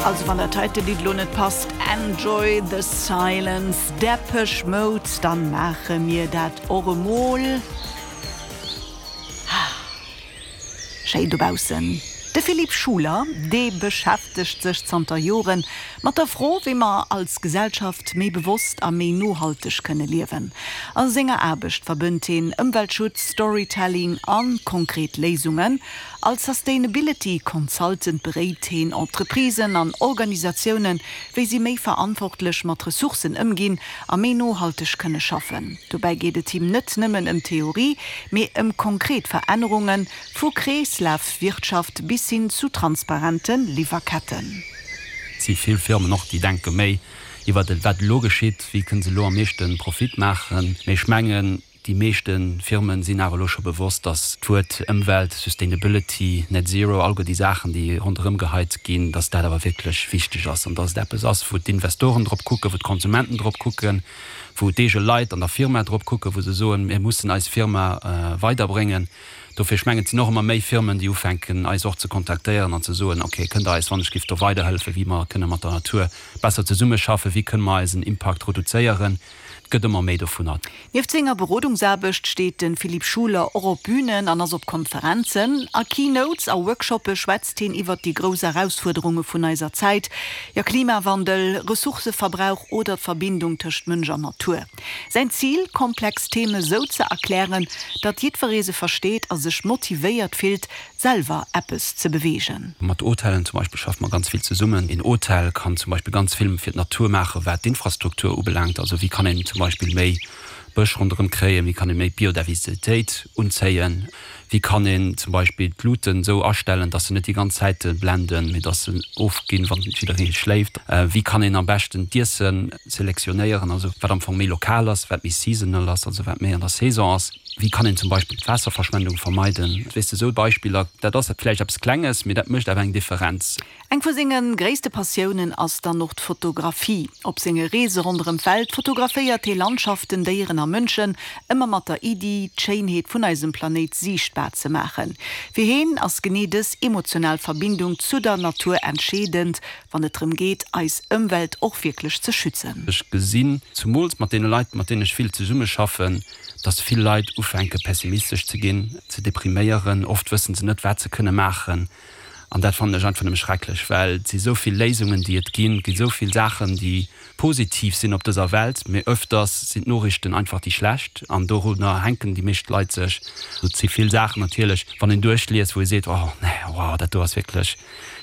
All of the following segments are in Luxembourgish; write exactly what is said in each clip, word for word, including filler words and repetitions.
Also wann dat heite Lidd lo net passt, Enjoy the Silence, Depeche Mode, dann maache mir dat och emol. Schéin dobaussen. De Philippe Schuler, dee beschäftegt sech zanter Joren mat der Fro, wéi mer als Gesellschaft méi bewosst a méi nohalteg kënne liewen. A senger Aarbecht verbënnt hien Ëmweltschutz, Storytelling a konkret Léisungen. Als Sustainability Consultant beréit hien Entreprisen an Organisatiounen, wéi si méi verantwortlech mat Ressourcen ëmginn a méi nohalteg kënne schaffen. Dobäi geet et him net nëmmen ëm Theorie, mee ëm konkret Verännerungen, vu Kreeslafwirtschaft bis hin zu transparente Liwwerketten. Et si vill Firmen och, déi denke méi iwwer wat elo geschitt, wéi kënne se lo am meeschte Profit maachen. Mee ech mengen, déi meeschte Firmen sinn awer lo scho bewosst, dass d'Wuert Ëmwelt, Sustainability, Net Zero, all déi Saachen, déi ronderëm geheit ginn, dass dat awer wierklech wichteg ass an dass et eppes ass, wou d'Investoren drop kucken, wou d'Konsumenten drop kucken, wou d'eege Leit an der Firma drop kucken, wou se soen, mir mussen eis Firma weiderbréngen. Dofir, ech mengen, et sinn och ëmmer méi Firmen, déi ufänken eis och ze kontaktéieren an ze soen, ok, kënnt der eis wann ech giff do weiderhëllefen, wéi mer kënne mat der Natur besser zesummeschaffen, wéi kënne mer eisen Impakt reduzéieren. Et gëtt ëmmer méi dovunner. Nieft senger Berodungsaarbecht steet de Philippe Schuler och op Bünen an ass op Konferenzen. A Keynotes a Workshoppe schwätzt hien iwwer déi grouss Erausfuerderunge vun eiser Zäit, jo Klimawandel, Ressourcëverbrauch oder d'Verbindung tëscht Mënsch an Natur. Säin Zil, komplex Theme sou ze erklären, datt jiddweree se versteet a sech motivéiert fillt, selwer eppes ze beweegen. Mat Hotellen zum Beispill schaffe mer ganz vill zesummen. Een Hotel kann zum Beispill ganz vill fir d'Natur maachen, wat d'Infrastruktur ubelaangt. Also wéi kann een zum Beispill méi Bësch ronderëm kréien, wéi kann ee méi Biodiversitéit unzéien, wéi kann een zum Beispill d'Luuten esou astellen, dass se net déi ganz Zäit blenden, mee dass se ofginn, wann jidderee schléift, wéi kann een am beschten d'Iesse selektionéieren, also wat am Fong méi lokal ass, wat méi seasonal ass, also wat méi an der Saison ass, wéi kann een zum Beispill d'Waasserverschwendung vermeiden. Weess de, esou Beispiller, dat ass vläicht eppes Klenges, mee dat mécht awer eng Differenz. Eng vu senge gréisste Passiounen ass dann och d'Fotografie. Op senge Reese ronderëm d'Welt fotograféiert hie Landschaften, Déieren a Mënschen, ëmmer mat der Iddi, d'Schéinheet vun eisem Planéit siichtbar ze maachen. Fir hien ass genee dës emotional Verbindung zu der Natur entscheedend, wann et drëm geet, eis Ëmwelt och wierklech ze schützen. Ech gesinn, zumools mat deene Leit, mat deenen ech vill zesummeschaffen, dass vill Leit ufänke pessimistesch ze ginn, ze depriméieren. Oft wëssen se net, wat se kënne maachen. An dat fannen ech einfach nëmme schrecklech, well et si sou vill Léisungen, déi et ginn, et gi sou vill Saachen, déi positiv sinn op dëser Welt, mee öfters sinn d'Noriichten einfach déi schlecht an dorunner hänken déi meescht Leit sech. Et si vill Saachen natierlech, wann een duerchliest, wou ee seet, oh nee, wow, dat do ass wierklech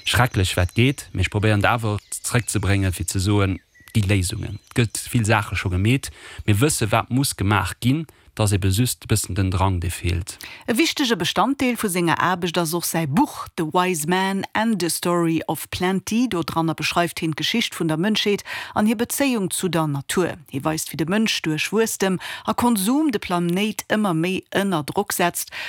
schrecklech, wat geet. Mee ech probéieren et awer zréckzebréngen, fir ze soen, et gi Léisungen, et gëtt vill Saache scho gemeet, mir wësse wat muss gemaach ginn. Et ass ebe just e bëssen den Drang, dee feelt. E wichtege Bestanddeel vu senger Aarbecht ass och säi Buch The Wise Man and the Story of Plenty. Do dranner beschreift hien d'Geschicht vun der Mënschheet an hir Bezéiung zu der Natur. Hie weist, wéi de Mënsch duerch Wuesstem a Konsum de Planéit ëmmer méi ënner Drock setzt.